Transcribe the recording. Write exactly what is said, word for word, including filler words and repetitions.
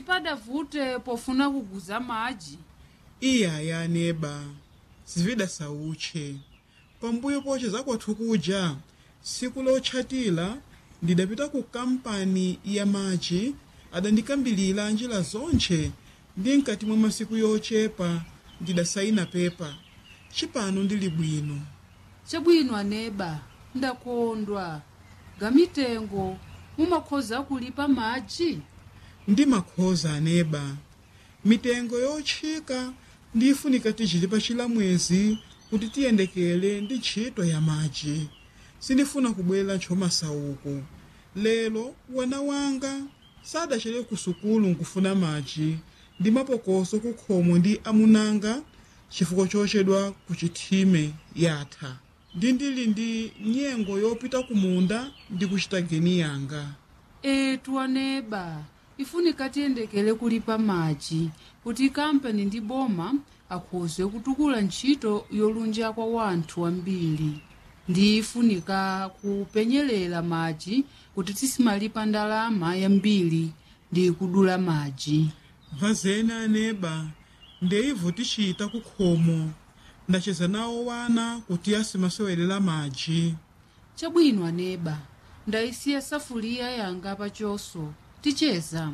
Sipadavute pofuna kuguza madzi. Iyaya aneba, sividasauche. Pambuyo poche zakwathu kuja tsiku lotchatira ndidapita ku kampani ya madzi, adandikambilira njira zontche ndi mkati mwa masiku yochepa ndidasayina pepa. Cipano ndili bwino. Chabwino aneba, ndakondwa. Gamitengo mumakhoza kulipa madzi? Ndimakhoza aneba, mitengo yotchika ndifunika tichilipa chilamwezi kuti tiyendekere ndi ntchito ya madzi. Sindifuna kubwera ntchomasauko. Lero wana wanga sadachere ku sukulu nkufuna madzi ndi mapokoso kukhomo ndi amunanga chifukwa chochedwa ku chithime yatha, ndi ndili ndi nyengo yopita kumunda ndi kuchita geni yanga. Etu aneba, ifunika tiyendekere kulipa madzi kuti kampani ndi boma akhoze kutukula ntchito yolunja kwa wanthu ambiri. Ndi ifunika kupenyerera madzi kuti tisimalipa ndalama yambiri ndi kudula madzi. Vazeni aneba, ndeivo tichita kukhomo. Ndacheza nawo wana kuti asimasewelera madzi. Chabwino aneba, ndayisiya safuliya yanga pachoso, ticheza.